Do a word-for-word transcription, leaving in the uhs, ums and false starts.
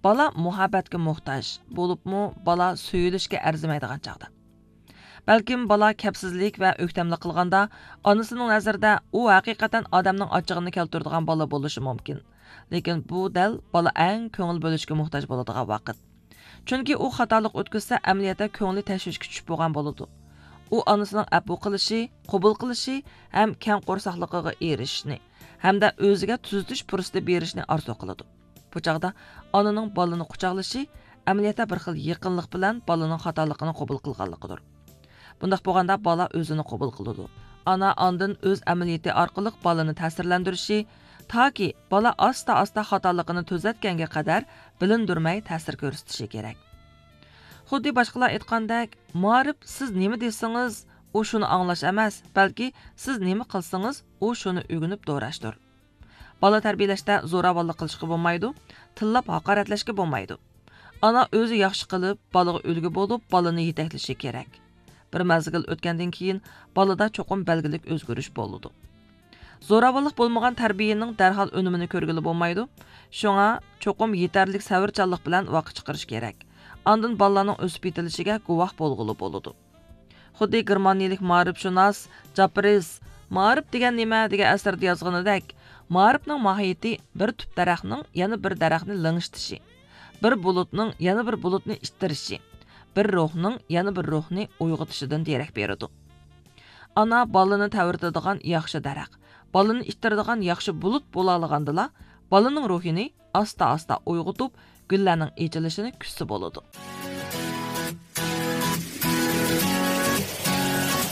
بالا مۇھەببەتكە موھتاج، بولۇپمۇ بالا سۆيۈلۈشكە ئەرزىمەيدىغان چاغدا. بەلكىم بالا كەپسىزلىك ۋە ئۆكتەملىك قىلغاندا، ئانىسىنىڭ نەزىرىدە ئۇ ھەقىقەتەن ئادەمنىڭ ئاچچىقىنى كەلتۈرىدىغان بالا بولۇشى مۇمكىن. لېكىن بۇ دەل بالا ئەڭ كۆڭۈل بۆلۈشكە موھتاج بولىدىغان ۋاقىت. چۈنكى ئۇ خاتالىق ئۆتكۈزسە، ئەمەلىيەتتە كۆڭلى تەشۋىشكە چۈشۈپ بولغان بولىدۇ. ئۇ ئانىسىنىڭ ئەپۇ قىلىشى، قوبۇل قىلىشى ھەم كەڭ قورساقلىقىغا ئېرىشىشنى ھەمدە ئۆزىگە تۈزىتىش پۇرسىتى بېرىشىنى ئارزۇ قىلىدۇ. بۇ چاغدا ئانىنىڭ بالىنى قۇچاقلىشى ئەمەلىيەتتە بىر خىل يېقىنلىق بىلەن بالىنىڭ خاتالىقىنى قوبۇل قىلغانلىقىدۇر. بۇنداق بولغاندا بالا ئۆزىنى قوبۇل قىلىدۇ. ئانا ئاندىن ئۆز ئەمەلىيىتى ئارقىلىق بالىنى تەسىرلەندۈرۈشى، تاكى بالا ئاستا-ئاستا خاتالىقىنى تۈزەتكەنگە قەدەر بىلىندۈرمەي تەسىر كۆرسىتىشى كېرەك. خۇددى باشقىلار ئېيتقاندەك، مائارىپ سىز نېمە دېسىڭىز، ئۇ شۇنى ئاڭلاش ئەمەس، بەلكى سىز نېمە قىلسىڭىز، ئۇ شۇنى ئۆگىنىپ دوراشتۇر. بالا تەربىيىلەشتە زوراۋانلىق قىلىشقا بولمايدۇ، تىللاپ ھاقارەتلەشكە بولمايدۇ. ئانا ئۆزى ياخشى قىلىپ، بالىغا ئۈلگە بولۇپ، بالىنى يېتەكلىشى كېرەك. بىر مەزگىل ئۆتكەندىن كېيىن بالىدا چوقۇم بەلگىلىك ئۆزگىرىش بولىدۇ. زوراۋانلىق بولمىغان تەربىيەنىڭ دەرھال ئۈنۈمىنى كۆرگىلى بولمايدۇ. شۇڭا چوقۇم يېتەرلىك سەۋرچانلىق بىلەن ۋاقىت چىقىرىش كېرەك. ئاندىن بالىلارنىڭ ئۆسۈپ يېتىلىشىگە گۇۋاھ بولغىلى بولىدۇ. خۇددى گېرمانىيىلىك مائارىپشۇناس جاپرىس مائارىپ دېگەن نېمە دېگەن ئەسىرىدە يازغىنىدەك، مائارىپنىڭ ماھىيىتى بىر تۈپ دەرەخنىڭ يەنە بىر دەرەخنى لىڭشىتىشى، بىر بۇلۇتنىڭ يەنە بىر بۇلۇتنى ئىتتىرىشى، بىر روھنىڭ يەنە بىر روھنى ئويغىتىشىدىن دېرەك بېرىدۇ. ئانا بالىنى تەۋرىتىدىغان ياخشى دەرەخ، بالىنى ئىتتىرىدىغان ياخشى بۇلۇت بولالىغاندىلا، بالىنىڭ روھىنى ئاستا-ئاستا ئويغىتىپ، گۈللەرنىڭ ئېچىلىشىنى كۈتسە بولىدۇ.